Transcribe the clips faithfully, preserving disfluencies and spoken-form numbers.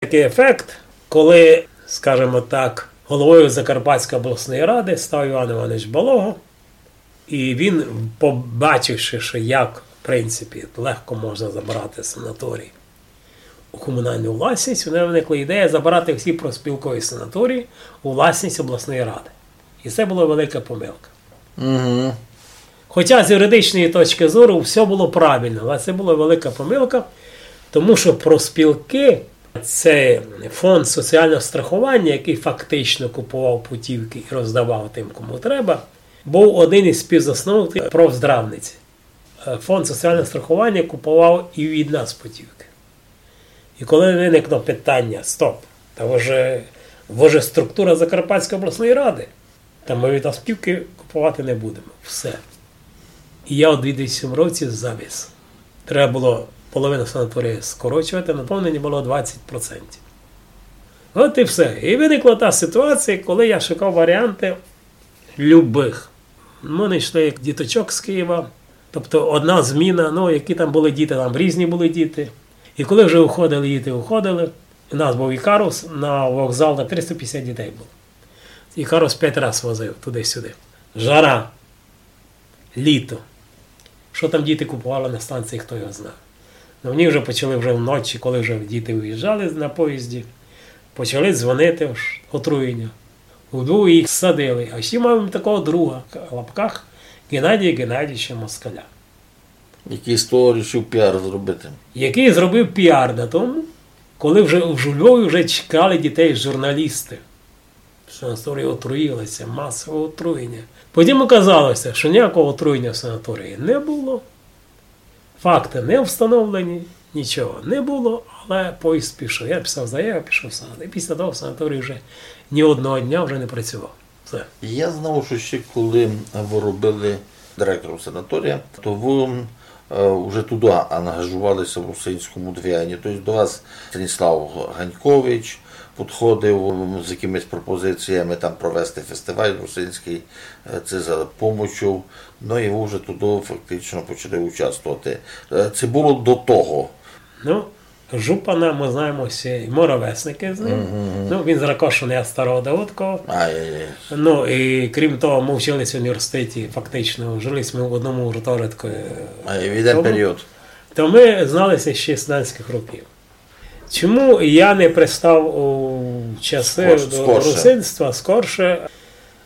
такый ефект, коли, скажімо так, головою Закарпатської обласної ради став Іван Іванович Балога, і він, побачивши, що як, в принципі, легко можна забрати санаторій у комунальну власність, у нього виникла ідея забрати всі профспілкові санаторії у власність обласної ради. І це була велика помилка. Угу. Хоча з юридичної точки зору все було правильно, але це була велика помилка, тому що профспілки — це фонд соціального страхування, який фактично купував путівки і роздавав тим, кому треба, був один із співзасновників профздравниці. Е, фонд соціального страхування купував і від нас путівки. І коли виникло питання: «Стоп, та ви же, ви же структура Закарпатської обласної ради», та ми від вас путівки купувати не будемо. Все. І я у дві тисячі сьомому році завис. Треба було половину санаторія скорочувати, наповнення було двадцять процентів. От і все. І виникла та ситуація, коли я шукав варіанти любих. Ми знайшли як діточок з Києва, тобто одна зміна, ну, які там були діти, там різні були діти. І коли вже уходили діти, уходили, у нас був Ікарус, на вокзал на триста п'ятдесят дітей було. Ікарус п'ять раз возив туди-сюди. Жара, літо. Що там діти купували на станції, хто його знає. Ну, вони вже почали вже вночі, коли вже діти виїжджали на поїзді, почали дзвонити, ож отруєння. Удвох їх садили. А ще маємо такого друга, в лапках, Геннадія Геннадійовича Москаля. Який з того рішив піар зробити. Який зробив піар на тому, коли вже в Львові вже чекали дітей журналісти. Санаторій отруїлися, масове отруєння. Потім оказалося, що ніякого отруєння в санаторії не було. Факти не встановлені, нічого не було, але поїзд пішов. Я писав заяву, пішов в санаторій. І після того санаторій вже ні одного дня вже не працював. Все. Я знав, що ще коли ви робили директором санаторія, то ви е, вже туди ангажувалися в русинському движенні. Тобто до вас Станіслав Ганькович підходив з якимись пропозиціями там провести фестиваль русинський, е, це за помочу. Ну і ви вже туди фактично почали участвувати. Е, це було до того. Ну, Жупана ми знаємо всі, і ми ровесники з ним. Мгм. Ну, він з Ракошина, я з Старого Давидкова. Ай-яй-яй. Ну, і крім того, ми вчилися в університеті, фактично, жили ми в одному гуртожитку. А, і в один період. То ми зналися ще з студентських років. Чому я не пристав у часи до русинства скорше?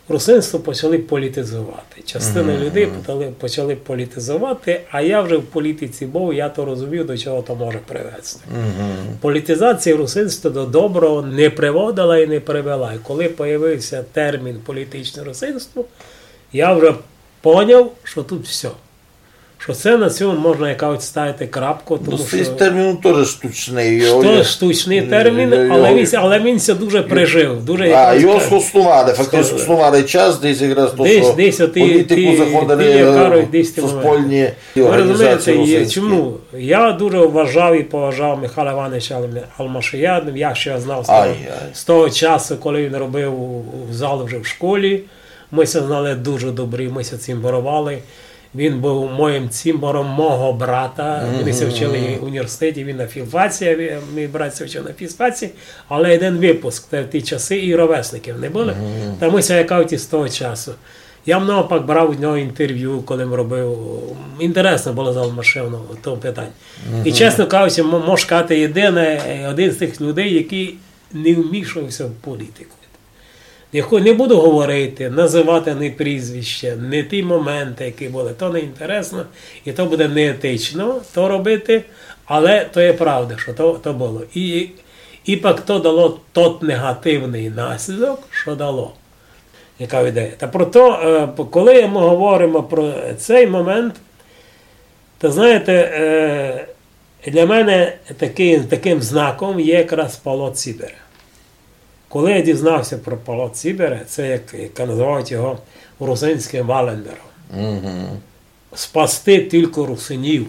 Русинство почали політизувати. Частина людей почали, почали політизувати, а я вже в політиці був, я то розумів, до чого то може привести. Політизація русинства до доброго не приводила і не привела. І коли появився термін політичне русинство, я вже поняв, що тут все. Що це на цьому можна якось ставити крапку, тому що... Ну, цей термін теж штучний. Штучний термін, але він, але він ся дуже прижив, дуже... А, його схоснували, фактично схоснували час, десь якраз то, що в політику заходили суспільні організації русинські. Ви розумієте, чому? Я дуже вважав і поважав Михайла Івановича Алм-, Алмашія, я ще знав з того, з того часу, коли він робив у, у зал вже в школі. Ми ся знали дуже добрі, ми ся цімборовали. Він був моїм цімбором мого брата. Вони ся вчили в університеті, він на філфаці, а ві-, мій брат ся вчив на фізфаці. Але один випуск, те, ті часи і ровесників не було. Та ми ся якавті з того часу. Я много пак брав у нього інтерв'ю, коли він робив. Інтересно було з Алмашевим в тому питанні. І, чесно кажучи, м-, можу сказати, єдине, е, один з тих людей, який не вмішувався в політику. Не хо-, не буду говорити, називати ні прізвища, ні ті моменти, які були. То не інтересно, і то буде неетично то робити, але то є правда, що то, то було. І, і пак то дало тот негативний наслідок, що дало. Яка ідея? Та про то, е, п-, коли ми говоримо про цей момент, то, знаєте, е, для мене такий, таким знаком є якраз Павло Цібере. Коли я дізнався про Павла Цібере, це як, як називають його русинським Валлендером. Спасти тільки русинів.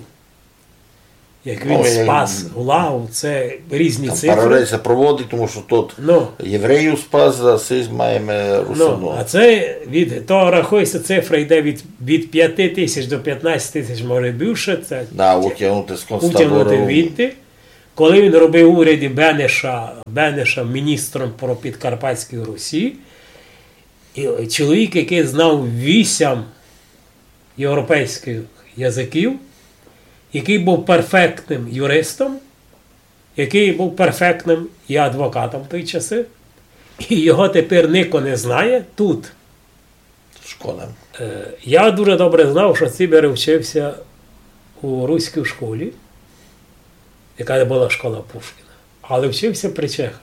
Як він спас Гулагу, це різні цифри. Там паралель ся проводить, тому що тот євреїв спас, а сись маємо русинів. Ну, а це від, то рахується, цифра йде від, від п'яти тисяч до п'ятнадцяти тисяч, може більше, це утягнути з концтабору. Утягнути відти. Коли він робив у уряді Бенеша, Бенеша міністром про Підкарпатські Русі, і чоловік, який знав вісім європейських язиків, який був перфектним юристом, який був перфектним і адвокатом в той часи, і його тепер нико не знає тут. Шкода. Е, я дуже добре знав, що Цібер вчився у руській школі, яка була школа Пушкіна, але вчився при чехах.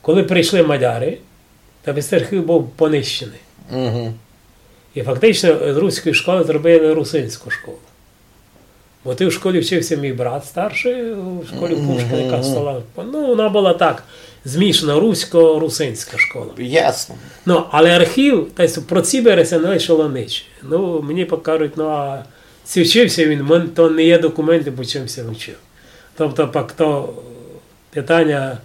Коли прийшли мадяри, та весь архів був понищений. Угу. І фактично з руської школи зробили русинську школу. Бо ти в школі вчився мій брат старший, у школі Пушкіна, яка стала. Ну, вона була так, змішана русько-русинська школа. Ясно. Ну, але архів, та й про Цібера ся не лишило нич. Ну, мені покажуть, ну, а чи вчився він, мен-, то не є документи, по чим ся вчив. Тобто, пак то питання,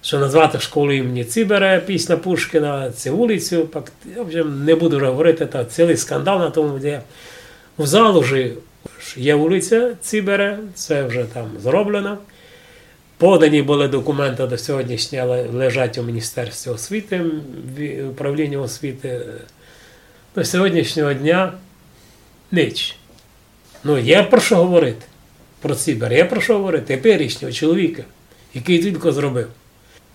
що назвати школу імені Цібера після Пушкіна, цю вулицю, пак, я вже не буду вже говорити, та цілий скандал на тому, де в Залужі є вулиця Цібера, це вже там зроблено. Подані були документи до сьогоднішнього, ле-, лежать у Міністерстві освіти, в управлінні освіти. До сьогоднішнього дня нич. Ну, є про що говорити. Про Цібер є про що говорити. Теперішнього чоловіка, який тільки зробив.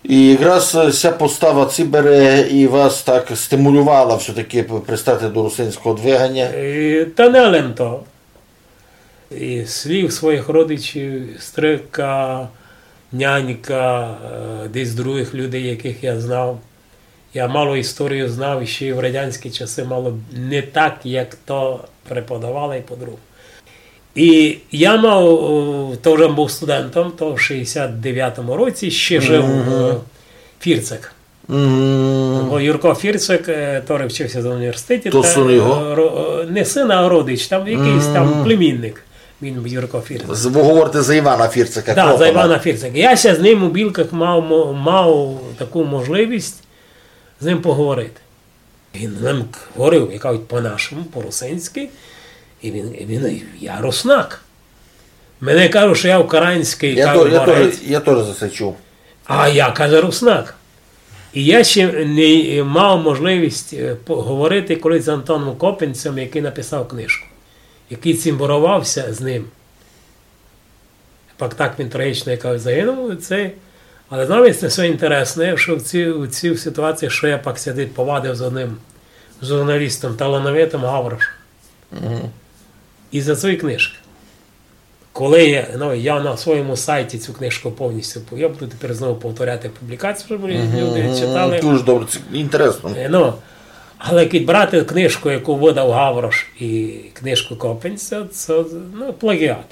І якраз, е, ся постава Цібере і вас так стимулювала все-таки п-, пристати до русинського двиганя? Е, та не лем то. І слів своїх родичів, стрика, нянька, е, десь других людей, яких я знав. Я мало історію знав, і ще й в радянські часи мало не так, як то преподавали і по-другому. І я мав, о, то вже був студентом, то в шістдесят дев'ятому році ще жив, е, Фірцик. Бо Юрко Фірцик, е, который вчився в університеті, то та, син його? Е, ро-, е, не син, а родич, там якийсь там племінник. Він Юрко Фірцик. З-, ви говорите за Івана Фірцика, да, за Івана Фірцика. Я ще з ним у Білках мав мо-, мав таку можливість з ним поговорити. Він з ним говорив, як кажуть, по-нашому, по-русинськи, і він, і він: «Я руснак. Мене кажуть, що я український, я кажуть, то, я борець». Тоже, я тоже за це чув. А я, каже, руснак. І я ще не мав можливість, е, поговорити колись з Антоном Копинцем, який написав книжку, який цімборувався з ним. Пак так він трагічно, як кажуть, загинув. Це, але знаєте, це все інтересне, що в цій, у цій ситуації, що я пак сидить, повадив з одним журналістом, талановитим Гаврошем. Мгм. І за цієї книжки. Коли я, ну, я на своєму сайті цю книжку повністю пов-, я буду тепер знову повторяти публікацію, щоб люди читали. Дуже добре, це інтересно. Е, ну, але як брати книжку, яку видав Гаврош, і книжку Копинця, це, ну, плагіат.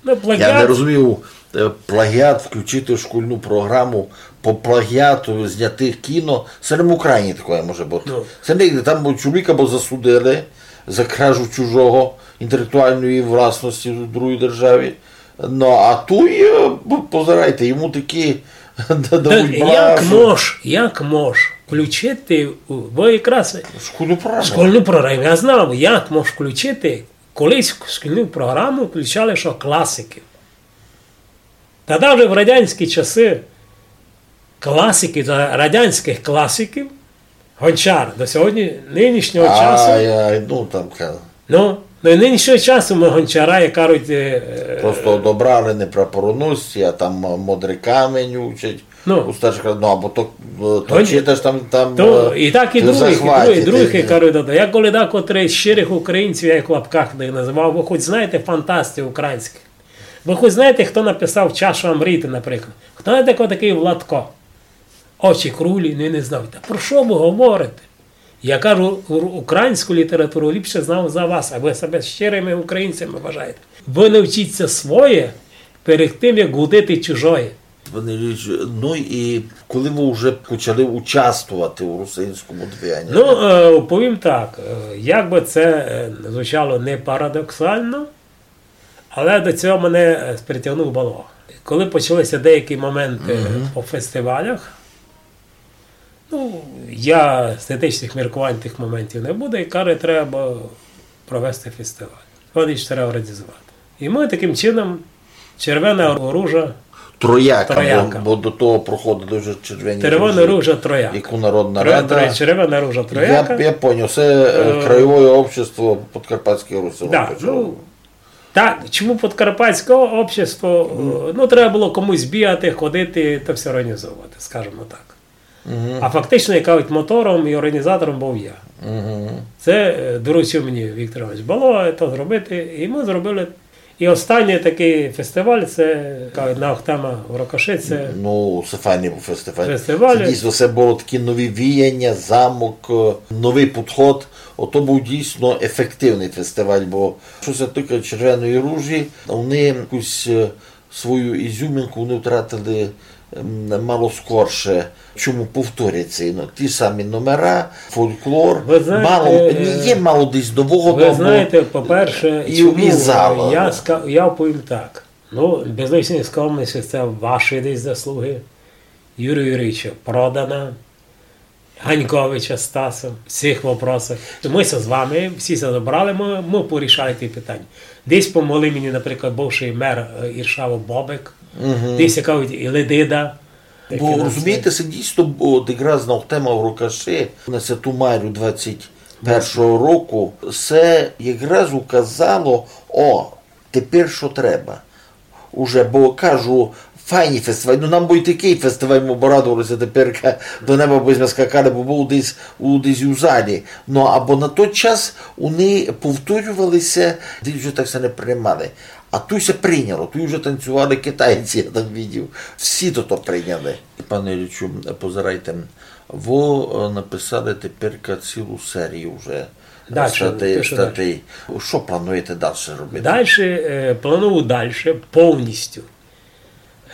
Ну, плагіат. Я не розумію, е, плагіат включити в шкільну програму, по плагіату зняти кіно, це не в Україні таке може бути. Ну. Це не, там чоловіка бо засудили за кражу чужого, інтелектуальної власності у другій державі. Ну, а туй, е, п-, позирайте, йому такі дадуть як брашу. Мож, як мож включити у, бо якраз шкільну програму. Шкільну програму, я знав, як мож включити, колись в шкільну програму включали, що класиків. Та навіть в радянські часи класики, за радянських класиків, Гончар до сьогодні, нинішнього часу. Ай, ай, ну, там ка- Ну, ну, і нинішнього часу ми Гончара, як кажуть, е, просто одобрали, не прапороносці, а там, е, Модрий камень учать. Ну. У старших, ну, або то, е, то Гон-, читаш там, там, то, е, і так і ти других, і захватить, других, і других, е. Як кажуть, я коли декотрий щирих українців, я їх в лапках не називав, ви хоч знаєте фантастів українських? Ви хоч знаєте, хто написав «Чашу Амріти», наприклад? Хто знаєте, хто такий Владко? «Очі круглі», не, не знав. Та про що ви говорите? Я кажу, у-, українську літературу ліпше знав за вас, а ви себе щирими українцями вважаєте. Ви навчіться своє перед тим, як гудити чужоє. Пане Юрійович, ну і коли ви вже почали участвувати у русинському движенні? Ну, е, повім так, е, як би це, е, звучало не парадоксально, але до цього мене, е, притягнув Балога. Коли почалися деякі моменти по фестивалях, ну, я з етичних міркувань тих моментів не буду, і каже, треба провести фестиваль. От їх треба організувати. І ми таким чином Червена ружа. Трояка, бо, бо до того проходили вже червені ружі, яку Народна рада. Червена ружа, трояка. Я, я поняв, це, е, Краєве общество Подкарпатської Руси. Да, ну, так, чому Подкарпатське общество? Е, ну, треба було комусь бігати, ходити та все організовувати, скажімо так. А фактично, як кажуть, мотором і організатором був я. Це, е, доручив мені Віктор Іванович Балога то зробити, і ми зробили. І останній такий фестиваль, це, кажуть, Наохтема в Рокоши, це... Ну, це файний був фестиваль. Фестиваль. Це дійсно, це було такі нові віяння, замок, е, новий підход. Ото був дійсно ефективний фестиваль, бо що се тикає Червеної ружі, вони якусь, е, свою ізюминку вони втратили, ем, мало скорше, чому повторяться. Ну, ті самі номера, фольклор. Ви знаєте, мало, е, ні, є мало десь нового, ви знаєте, по-перше, і, чому і зала, я ска-, я повім так. Ну, без лишньої скромності, це ваші десь заслуги. Юрія Юрійовича Продана, Ганьковича Стаса в цих вопросах. Ми ся з вами, всі ся зібрали, ми, ми порішали ті питання. Десь помогли мені, наприклад, бувший мер, е, Іршава Бобик, десь, як кажуть, і Ледида. Бо, розумієте, це дійсно, бо от якраз Наохтема в Рокоши на Святу Марію двадцять першого року, це якраз указало, о, тепер що треба. Уже, бо кажу, файні фестивалі. Ну, нам бы й такый фестиваль, мы бы радовали ся тепер, до неба бы сьме скакали, бо быв десь у, десь у залі. Ну, або на той час они повторювали ся, десь уже так ся не приймали. А туй ся прийняло, туй уже танцювали китайці, я там видів. Всі то, то прийняли. Пане Іллічу, позирайте, вы, е, написали тепер цілу серію вже. Дальше, статей, пишу статей. Дальше. Што плануєте дальше робити? Дальше, е, планую дальше повністю.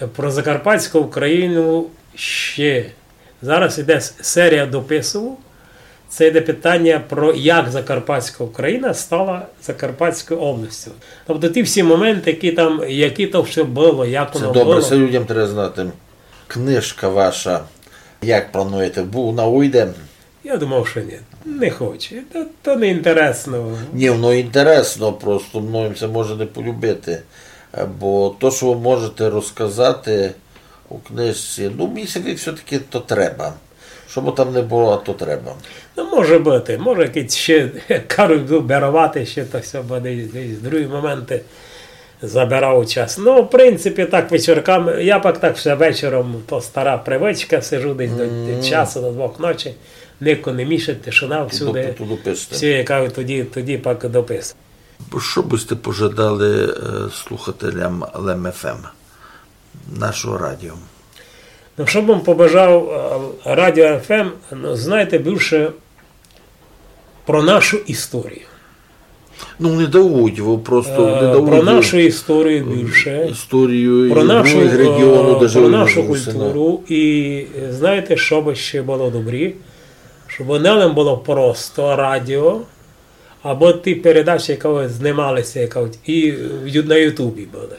Е, про Закарпатську Україну ще. Зараз іде с-, серія дописів. Це йде питання про як Закарпатська Україна стала Закарпатською областю. Тобто ті всі моменти, які там, які то все було, як воно було. Це добре, це людям треба знати. Книжка ваша, як плануєте, бу-, вона уйде? Я думав, що ні. Не хоче. То, то не інтересно. Ні, воно інтересно, просто мною це може не полюбити. Е, бо то, що ви можете розказати у книжці, ну, мені ся видить, все-таки то треба. Що бы там не було, а то треба. Ну, може бути. Може, якийсь ще, як кажуть, вибирати ще, то все буде десь другі моменти. Забирав час. Ну, в принципі, так вечірками, я пак так все вечором, то стара привичка, сижу десь до, до часу, до двох ночі, нико не мішать, тишина всюди. Тобто туды пишете? Всі, як кажуть, тоді, тоді пак допис. Што бы сьте пожадали, е, слухателям Лем Ф М, нашого радіо? Ну, што бы м побажав, е, радіо Ф М, ну, знаєте, більше про нашу історію. Ну, не дають, вы просто не дають. Е, про нашу історію більше. Історію про і нашу, других регіонів, е, даже про нашу культуру. І, е, знаєте, што бы ще було добрі? Щоб не лем було просто радіо, або ті передачі, які знималися, як кажуть, і в Ю-, на Ютубі були.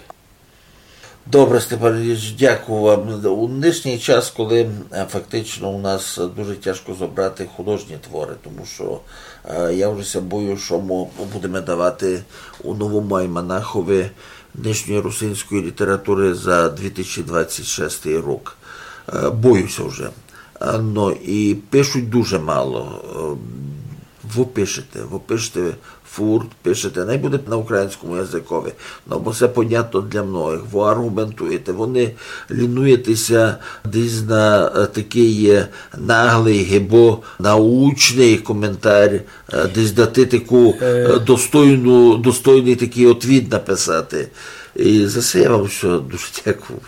Добре, Степан Ілліч, дякую вам. У нынішній час, коли, е, фактично у нас дуже тяжко зобрати художні творы, тому што, е, я вже ся бою, што мы будеме давати у новому альманахови нынішньої русинської літературы за дві тисячі двадцять шестий рік. Е, бою ся вже. Е, ну, і пишуть дуже мало. Е, Вы пишете, вы пишете фурт, пишете, най буде на українському языкови. Ну, бо се понятно для многих. Вы арґументуєте, вы не лінуєте ся десь на, е, такый, е, наглый, гибо научный коментар, е, десь дати таку, е, достойну, достойный такый отвіт написати. І за се я вам всьо дуже дякую.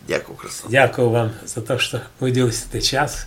Дякую, Руслан. Дякую вам за те, што виділили сьте час.